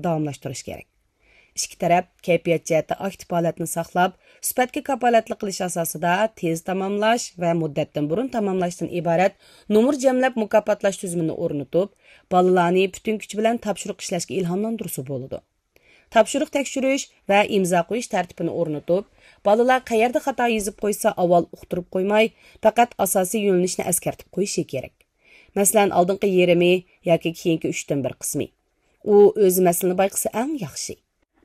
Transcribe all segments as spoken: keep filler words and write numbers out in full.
داۋاملاشتۇرۇش كېرەك. ئىككى تەرەپ كەيپىيات جەھەتتە ئاكتىپ ھالەتنى ساقلاپ، سۈپەتكە كاپالەتلىك قىلىش ئاساسىدا تېز تاماملاش ۋە مۇددەتتىن بۇرۇن تاماملاشتىن ئىبارەت نومۇر جەملەپ مۇكاپاتلاش تۈزۈمىنى ئورنىتىپ، بالىلارنى پۈتۈن كۈچى بىلەن تاپشۇرۇق ئىشلەشكە ئىلھاملاندۇرسا بولىدۇ. تاپشۇرۇق تەكشۈرۈش ۋە ئىمزا قويۇش تەرتىپىنى ئورنىتىپ، بالىلار قەيەردە خاتا يېزىپ قويسا، ئاۋۋال ئۇقتۇرۇپ قويماي، پەقەت ئاساسىي يۆنىلىشنى ئەسكەرتىپ قويۇشى كېرەك. مەسىلەن، ئالدىنقى يېرىمى ياكى كېيىنكى ئۈچتىن بىر قىسمى. ئۇ ئۆزى مەسىلىنى بايقىسا ئەڭ ياخشى.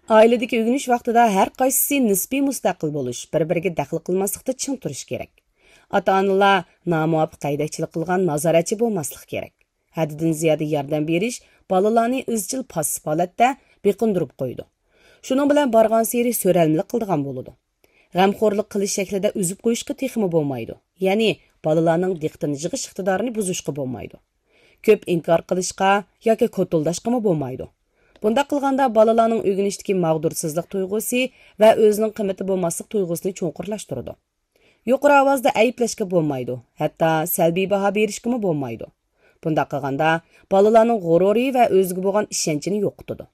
ئائىلىدىكى ئۆگىنىش ۋاقتىدا ھەر قايسىسى نىسپىي مۇستەقىل بولۇش، بىر-بىرىگە دەخلى قىلماسلىقتا چىڭ تۇرۇش كېرەك. ئاتا-ئانىلار نامۇۋاپىق ھەيدەكچىلىك قىلغان نازارەتچى بولماسلىقى كېرەك. ھەددىدىن زىيادە ياردەم بېرىش بالىلارنى ئىزچىل پاسسىپ ھالەتتە بېقىندۇرۇپ قويىدۇ. شۇنىڭ بىلەن بارغانسېرى سۆرەلمىلىك قىلىدىغان بولىدۇ. غەمخورلۇق قىلىش شەكلىدە ئۈزۈپ قويۇشقا تېخىمۇ بولمايدۇ. يەنى بالىلارنىڭ دىققىتىنى يىغىش ئىقتىدارىنى بۇزۇشقا بولمايدۇ. كۆپ ئىنكار قىلىشقا ياكى كوتۇلداشقىمۇ بولمايدۇ. بۇنداق قىلغاندا بالىلارنىڭ ئۆگىنىشتىكى ماغدۇرسىزلىق تۇيغۇسى ۋە ئۆزىنىڭ قىممىتى بولماسلىق تۇيغۇسىنى چوڭقۇرلاشتۇرىدۇ. يۇقىرى ئاۋازدا ئەيىبلەشكە بولمايدۇ، ھەتتا سەلبىي باھا بېرىشكىمۇ بولمايدۇ. بۇنداق قىلغاندا بالىلارنىڭ غۇرۇرى ۋە ئۆزىگە بولغان ئىشەنچىنى يوقىتىدۇ.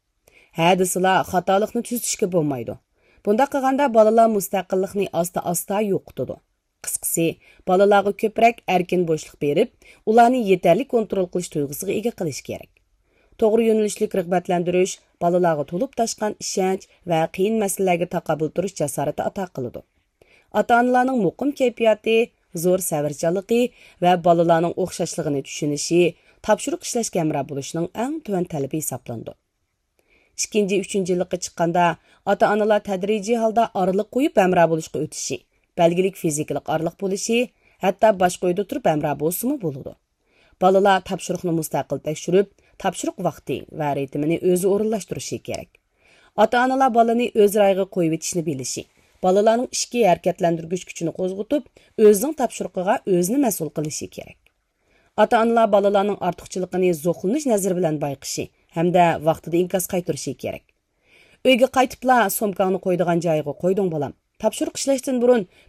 ھە دېسىلا خاتالىقنى تۈزىتىشكە بولمايدۇ. بۇنداق قىلغاندا بالىلار مۇستەقىللىقنى ئاستا-ئاستا يوقىتىدۇ. قىسقىسى، بالىلارغا كۆپرەك ئەركىن بوشلۇق بېرىپ، ئۇلارنى يېتەرلىك كونترول قىلىش تۇيغۇسىغا ئىگە قىلىش كېرەك. توغرا يۆنىلىشلىك رىغبەتلەندۈرۈش بالىلارغا تولۇپ تاشقان ئىشەنچ ۋە قىيىن مەسىلىلەرگە تاقابىل تۇرۇش جاسارىتى ئاتا قىلىدۇ. ئاتا-ئانىلارنىڭ مۇقىم كەيپىياتى، زور سەۋرچانلىقى ۋە بالىلارنىڭ ئوخشاشلىقىنى چۈشىنىشى تاپشۇرۇق ئىشلەشكە ھەمراھ بولۇشنىڭ ئەڭ تۆۋەن تەلىپى ھېسابلىنىدۇ. ئىككىنچى، ئۈچىنچى يىللىققا چىققاندا، ئاتا-ئانىلار تەدرىجىي ھالدا ئارىلىق قويۇپ ھەمراھ بولۇشقا ئۆتۈشى، بەلگىلىك فىزىكىلىق ئارىلىق بولۇشى، ھەتتا باشقا ئۆيدە تۇرۇپ ھەمراھ بولسىمۇ بولىدۇ. بالىلار تاپشۇرۇقنى مۇستەقىل تەكشۈرۈپ، تاپشۇرۇق ۋاقتى ۋە رىتىمىنى ئۆزى ئورۇنلاشتۇرۇشى كېرەك. ئاتا-ئانىلار بالىنى ئۆز رايىغا قويۇۋېتىشنى بىلىشى، بالىلارنىڭ ئىچكى ھەرىكەتلەندۈرگۈچ كۈچىنى قوزغىتىپ، ئۆزىنىڭ تاپشۇرۇقىغا ئۆزىنى مەسئۇل قىلىشى كېرەك. ئاتا-ئانىلار بالىلارنىڭ ئارتۇقچىلىقىنى زوقلىنىش نەزىرى بىلەن بايقىشى ھەمدە ۋاقتىدا ئىنكاس قايتۇرۇشى كېرەك. ئۆيگە قايتىپلا سومكاڭنى قويىدىغان جايىغا قويدۇڭ، بالام. تاپشۇرۇق ئىشلەشتىن بۇرۇن